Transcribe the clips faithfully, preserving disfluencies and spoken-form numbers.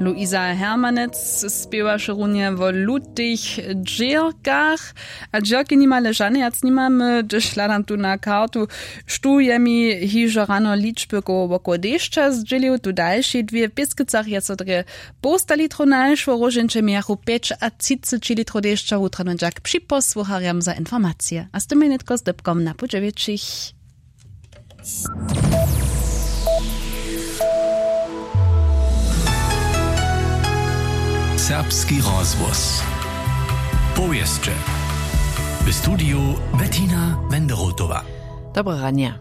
Luisa Hermanec spěwaše runje wo lutych dźěrkach. A dźěrki nimale žane wjac nimamy, hdyž hladam tu na kartu, štó je mi hižo rano ličby koło wokoło dešća zdźělił. Tu dalšej dwě w pěskicach je so drje połsta litrow našło, róžeńće mějachu pjećatřiceći litrow dešća, wutrano dźak připosłucharjam za informacije a z tym je nětko z dypkom na pół dźewjećich. Serbski rozhłos. Powěsće. W studiju Bettina Wenderotowa. Dobre ranje.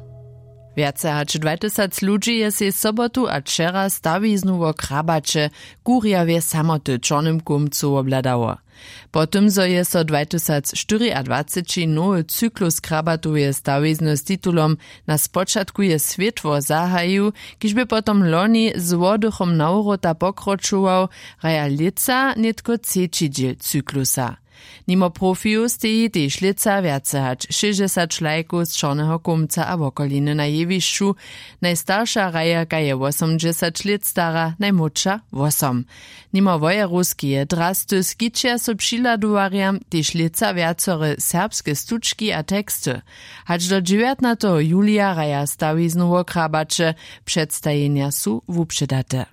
Wjace hač dwajtysac ludźi je sej sobotu a wčera stawiznu wo Krabaće, kurjawje samoty w Čornym Kómcu wobhladało. Po tym zo je so dwajtysac štyriadwaceći nowy cyklus krabatoweje stawizny z titulom Na spočatku je swětło zahajił, kiž bě potom loni z wodychom nawróta pokročował, hraja lětsa nětko třeći dźěl cyklusa. Nimo profijow steji tež lětsa wjace hač šěsćdźesat šlajkow z Čorneho Kómca a wokoliny na jewišću. Najstarša hrajerka je wosomdźesat lět stara, najmłódša wosom. Nimo wojerowskeje drasty skićeja so přihladowarjam tež lětsa wjacore serbske stučki a teksty. Hač do dźewjatnateho julija hraja stawiznu wo Krabaće. Předstajenja su wupředate.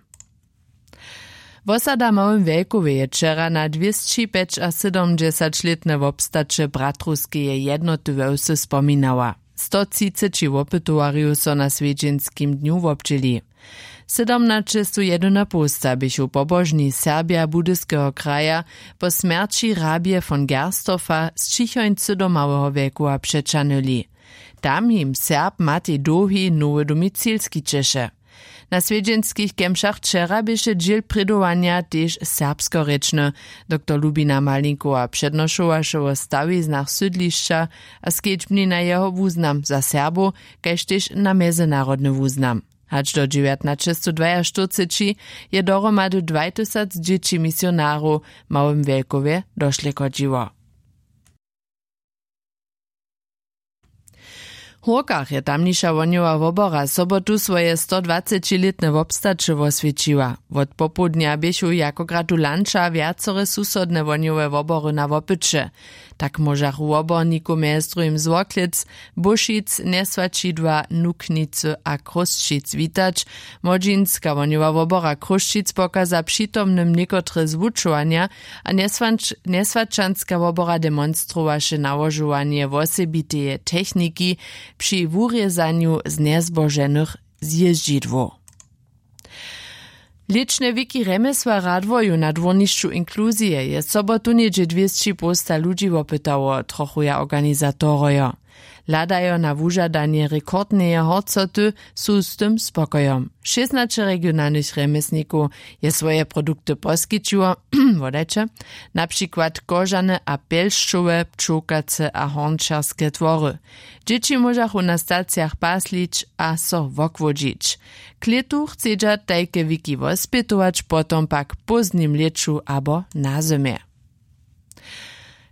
Wosada w Małym Wjelkowje je wčera na dwěsći pjećasydomdźesat lětne wobstaće bratrowskeje jednoty we wsy spominała. Sto třiceći wopytowarjow so na swjedźenskim dnju wobdźěli. Sydomnaćestowjedynapołsta běchu pobožni Serbja Budyskeho kraja po smjerći hrabje von Gerstorfa z Ćichońcy do Małeho Wjelkowa přećahnyli. Tam jim Serb Matej Dołhi nowy domicil skićeše. Na swjedźenskich kemšach wčera běše dźěl prědowanja tež serbskorěčny. Doktor Lubina Malinkowa přednošowaše wo stawiznach sydlišća a skedźbni na jeho wuznam za Serbow, kaž tež na mjezynarodny wuznam. Hač do dźewjatnaćestodwajaštyrceći je dohromady dwajtysac dźěći misionarow w Małym Wjelkowje došle chodźiło. W Hórkach je tamniša wohnjowa wobora sobotu swoje stodwacećilětne wobstaće woswjećiła. Wot popołdnja běchu jako gratulanća wjacore susodne wohnjowe wobory na wopyće. Tak móžachu wobornikow mjez druhim z Worklěc, Bóšic, Njeswaćidła, Nuknicy a Chrósćic witać. Młodźinska wohnjowa wobora Chrósćic pokaza přitomnym někotre zwučowanja a njeswaćanska wobora demonstrowaše nałožowanje wosebiteje techniki při wurězanju znjezboženych zjězdźidłow. Lěćne wiki rjemjesła w Radworju na dwórnišću Inkluzije je sobotu něhdźe dwěsći połsta ludźi wopytało, trochuja organizatorojo. Hladajo na wužadanje rekordneje horcoty, su z tym spokojom. Šěsnaće regionalnych rjemjesnikow je swoje produkty poskićiło, wodajće, na přikład kožane a pjelšćowe, pčołkace a hornčerske twory. Dźěći móžachu na stacijach paslić a so wochłodźić. K lětu chcedźa tajke wiki wospětować, potom pak w pózdnim lěću abo na zymje.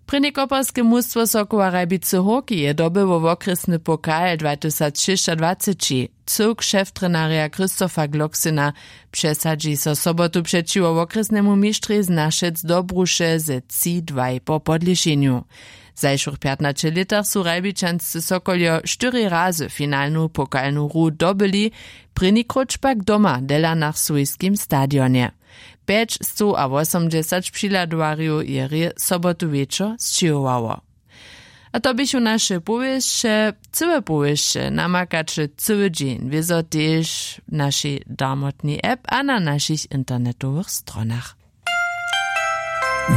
Prěnje koperske mustwo Sokoła Ralbicy Hórki je dobyło wokrjesny pokal dwatysacšěsćadwaceći. Cyłk šeftrjenarja Christopha Glocksena přesadźi so sobotu přećiwo wokrjesnemu mištrjej z Našec do Bruše ze tři dwaj po podlěšenju. W zašłych pjatnaće lětach su Ralbičanscy Sokoljo štyri razy finalnu pokalnu hru dobyli, prěni króć pak doma w Dellanach w swójskim stadionje. Pjećstowawosomdźesat přihladowarjow je rě sobotu wječor sćěhowało. A to běchu naše powěsće. Cyłe powěsće namakaće cyły dźeń wězo tež w našej darmotnej app a na našich internetowych stronach.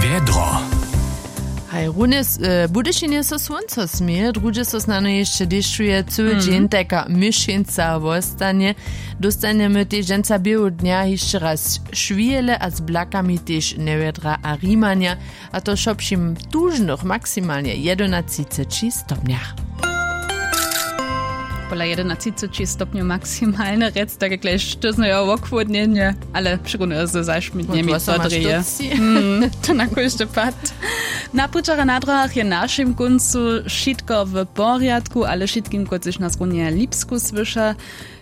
Wjedro. Haj, runje, e, w Budyšinje so słónco směje, druhdźe so snano hišće dešćuje, cyły dźeń tajka myšeńca wostanje. Dóstanjemy tež dźensa běhu dnja hišće raz šwijele a z blakami tež njewjedra a rimanja. A to wšo při tužnych maksimalnje jedenatřiceći stopnjach. Pola jedenatřiceći stopnjow maksimalne rjec, tak jak lež to znajo wochłódnjenje, ale přirunuje se zašmidnjemi to drje. To na kóždy pad. Na pućach a na dróhach je w našim kóncu wšitko w porjadku, ale wšitkim kótřiž nas runje lipsku słyša.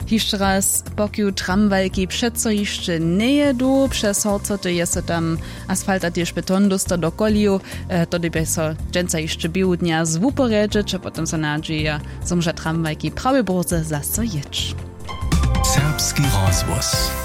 Hišće raz, pokiw tramwajki přeco hišće njejedu přez horcoty, je so tam asfalt a tež beton dósta do kolijow. To dyrbjej so dźensa hišće běhu dnja zwuporjedźeć a potom so nadźija, zo móža tramwajki prawje bórze zaso jěć. Serbski rozhłos.